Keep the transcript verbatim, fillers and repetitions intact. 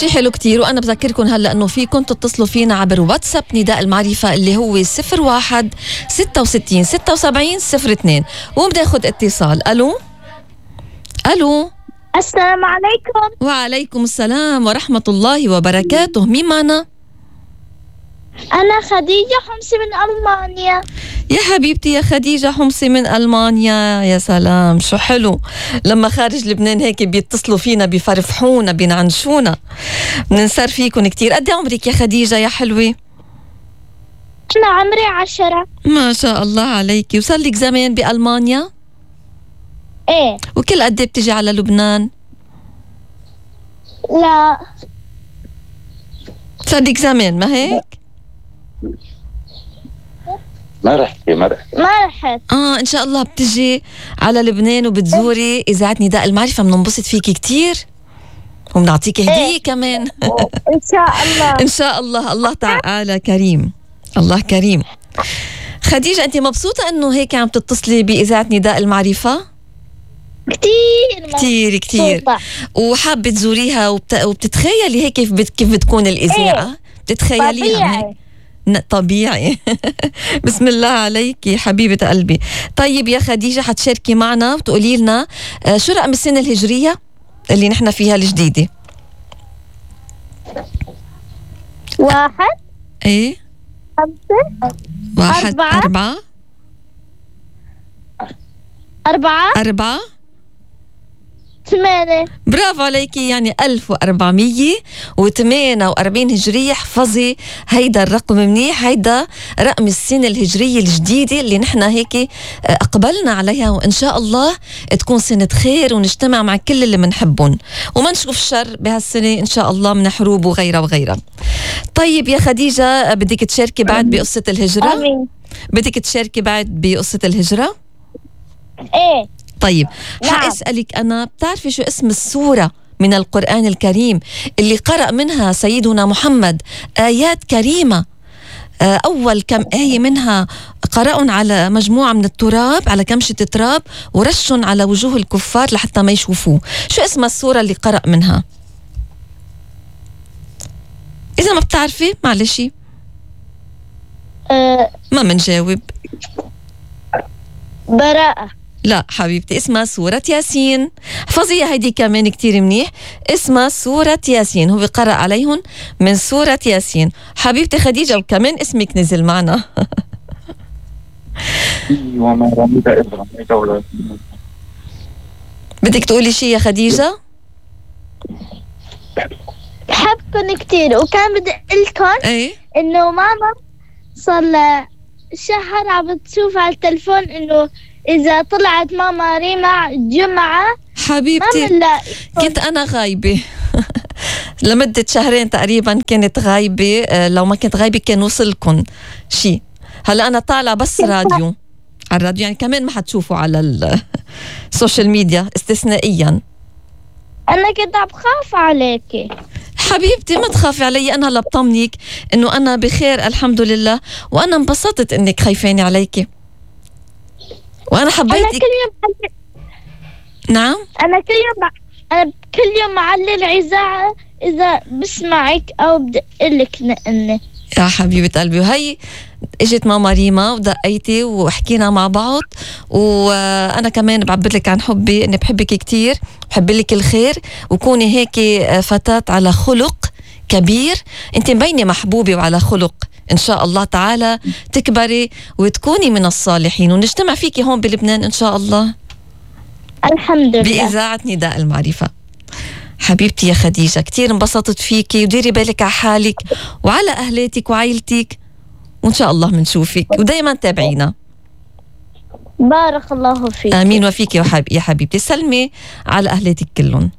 شي حلو كتير. وأنا بذكركم هلأ أنه فيكم تتصلوا فينا عبر واتساب نداء المعرفة اللي هو صفر واحد ستة وستين ستة وسبعين صفر اثنين. وبناخد اتصال. ألو ألو السلام عليكم. وعليكم السلام ورحمة الله وبركاته. مين معنا؟ أنا خديجة حمصي من ألمانيا. يا حبيبتي يا خديجة حمصي من ألمانيا. يا سلام شو حلو لما خارج لبنان هيك بيتصلوا فينا بيفرفحونا بينعنشونا. بننسر فيكم كتير. قد عمرك يا خديجة يا حلوة؟ أنا عمري عشرة. ما شاء الله عليكي. وصار لك زمان بألمانيا؟ إيه. وكل قد بتجي على لبنان؟ لا صار لك زمان ما هيك؟ ما رحتي ما رحتي ما رحت. آه إن شاء الله بتجي على لبنان وبتزوري إذاعة نداء المعرفة. بننبسط فيكي كتير وبنعطيكي هدية إيه. كمان. إن شاء الله. إن شاء الله. الله تعالى كريم. الله كريم. خديجة أنت مبسوطة أنه هيك عم تتصلي بإذاعة نداء المعرفة؟ كتير كتير كتير. مبسوطة. وحابة تزوريها وبت... وبتتخيلي هيك كيف بت... كيف بتكون الإذاعة؟ إيه. بتتخيليها هيك؟ طبيعي. طبيعي. بسم الله عليكي حبيبة قلبي. طيب يا خديجة حتشاركي معنا وتقولي لنا شو رقم السنة الهجرية اللي نحن فيها الجديدة؟ واحد ايه خمسة واحد أربعة. أربعة أربعة أربعة ثمانية. برافو عليكي. يعني ألف وأربعمية وثمانية وأربعين هجرية. احفظي هيدا الرقم منيح. هيدا رقم السنة الهجرية الجديدة اللي نحن هيك أقبلنا عليها. وإن شاء الله تكون سنة خير ونجتمع مع كل اللي منحبهم وما نشوف الشر بهالسنة إن شاء الله من حروب وغيرها وغيرها. طيب يا خديجة بدك تشاركي بعد بقصة الهجرة؟ آمين. بدك تشاركي بعد بقصة الهجرة؟ إيه. طيب نعم. حأسألك أنا، بتعرفي شو اسم السورة من القرآن الكريم اللي قرأ منها سيدنا محمد آيات كريمة؟ أول كم آية منها قرأوا على مجموعة من التراب، على كمشة تراب، ورشوا على وجوه الكفار لحتى ما يشوفوه. شو اسم السورة اللي قرأ منها؟ إذا ما بتعرفي معلشي أه ما منجاوب. براءة. لا حبيبتي اسمها سورة ياسين. حفظيها هيدي كمان كتير منيح. اسمها سورة ياسين. هو قرأ عليهم من سورة ياسين. حبيبتي خديجة وكمان اسمك نزل معنا. وما رميت إذ رميت ولكن بدك تقولي شي يا خديجة؟ بحبكن كتير. وكان بدي أقولكن ايه إنه ماما صار لها شهر عم بتشوف على التلفون إنه إذا طلعت ماما ريما الجمعة ما حبيبتي بنلاقي. كنت أنا غايبة لمدة شهرين تقريبا كنت غايبة. لو ما كنت غايبة كان وصلكن شي. هلا أنا طالعة بس راديو على الراديو، يعني كمان ما حتشوفوا على السوشيال ميديا استثنائيا. أنا كنت عم بخاف عليكي. حبيبتي ما تخافي علي. أنا هلا بطمنك إنه أنا بخير الحمد لله. وأنا انبسطت إنك خايفاني عليكي وأنا أنا حبيتك. كل يوم نعم أنا كل يوم أنا كل يوم معلي الإذاعة إذا بسمعك أو بدي أقلك نقني. يا حبيبة قلبي. وهي اجت ماما ريما ودقيتي وحكينا مع بعض. وانا كمان بعبر لك عن حبي، اني بحبك كتير، بحب لك الخير، وكوني هيك فتاة على خلق كبير. انت مبينة محبوبة وعلى خلق. ان شاء الله تعالى تكبري وتكوني من الصالحين ونجتمع فيكي هون بلبنان ان شاء الله الحمد لله. بإذاعة نداء المعرفة. حبيبتي يا خديجة كتير انبسطت فيكي. وديري بالك على حالك وعلى أهلاتك وعائلتك، وإن شاء الله منشوفك ودايما تابعينا. بارك الله فيك. آمين وفيك يا حبيبتي. سلمي على أهلاتك كلهم.